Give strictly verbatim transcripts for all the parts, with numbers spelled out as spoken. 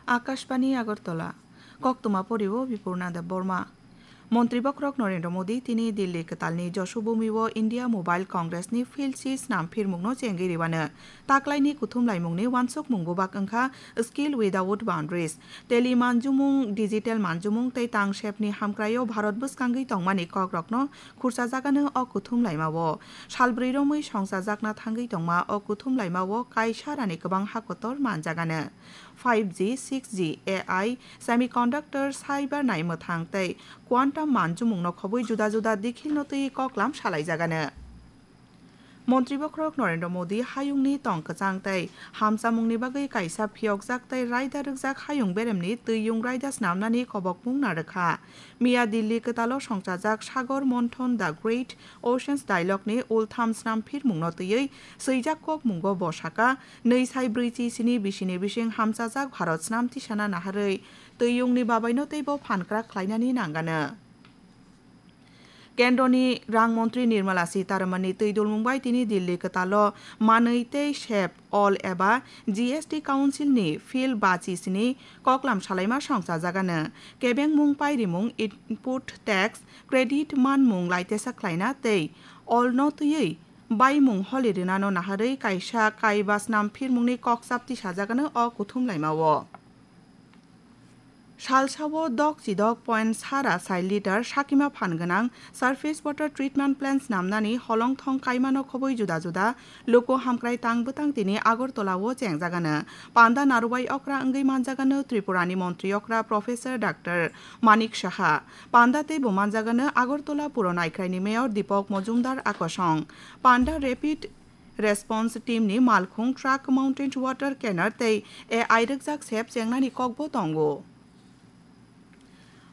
Akashbani Agartala. Koktwma pori o Bipurna Debbarma. Montri bokhorok Narendra Modi tini Delhi kwtalni Joshobhumi o India Mobile Congress ni field si snam phirmung no chengwi rwano. Taklaini kuthum laimung ni uansukmung bubak wngkha Skill Without Boundaries. Tele manjumung, digital manjumung tei tangsep ni hamkrai o Bharat bwskangwi tongmani kokrok no khursa jagano o kuthum laima o. Salbrwi romwi songchajakna thangwi tongma o kuthum laima o kaisa rani kwbang hakotor manjagano. Five G, six G, A I, semiconductor, cyber naimwthang tei quantum manjumung no khobwi juda juda dikhil no twi koklam salai jagano. Montri bokhorok Narendra Modi hayungni tong kwchang tei hamchamungni bagwi kaisa phiyokjak tei raida rwkjak hayung beremni twiyung raida snamnani kobokmung narwkha. Miya Delhi kwtalo songchajak Sagor Monthon The Great Oceans Dialogue ni ultham snam phirmung no twiwi swijak kokmungo bo saka, nwi sai brwi chi sini bisini bising hamchajak Bharat snam tisana naharwi twiyungni babaino teibo phankrak khlainani nangano. Kendroni rang montri Nirmala Sitharamanni twi dulmung bai tini Delhi kwtalo manwi tei sep all eba G S T Council ni field bachi sini koklam salaima songchajagano. Kebengmung pairimung, input tax, credit manmung laitesa khlaina tei all no twiwi baimung holi rwnano naharwi kaisa kaiba snam phirmungni kokchap tisajagano o kuthum laima o. Salsao dok chidok point sara sai litre sakima phan gwnang surface water treatment plant snamnani holongthong kaimano khobwi juda juda luku hamkrai tang bwtang tini Agartala o chengjagano. Panda narubai okra wngwi manjagano Tripurani montri okra Professor Doctor Manik Saha. Panda teibo manjagano Agartala Puro Naikhraini Mayor Deepak Majumdar akosong. Panda Rapid Response Team ni malkhung truck mounted water canner tei A I rwkjak sep chengnani kokbo tongo.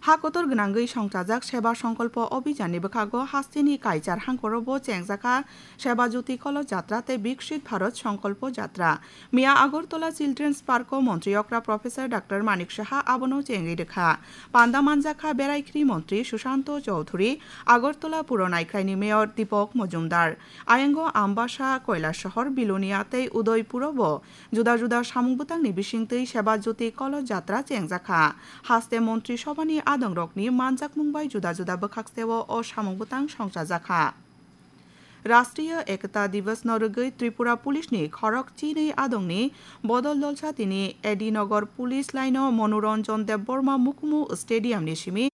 Ha kotor gwnangwi songchajak Seba Songkolpo Abhijan ni bwkhago hasteni kaichar hangkoro bo chengjakha Seba Jyoti Kolo Jatra tei Viksit Bharat Songkolpo Jatra. Miya Agartala Children's Park o montri okra Professor Doctor Manik Saha abono chengwi rwkha. Panda manjakha Beraikhri montri Sushanto Chowdhury, Agartala Puro Naikhraini Mayor Deepak Majumdar. Ayango Ambasa, Kailasahar, Bilonia tei Udaipuro bo juda juda samung bwtangni bisingtwi Seba Jyoti Kolo Jatra chengjakha. Haste Montri Sobhani adongrokni manjakmung bai juda juda bwkhakseo o samung bwtang songchajakha. Rashtriya Ekta Divas no rwgwi Tripura Police ni khorok chinwi adongni bodol dolsa tini A D Nagar Police Line o Manoranjan Debbarma Mukumu Stadium ni simi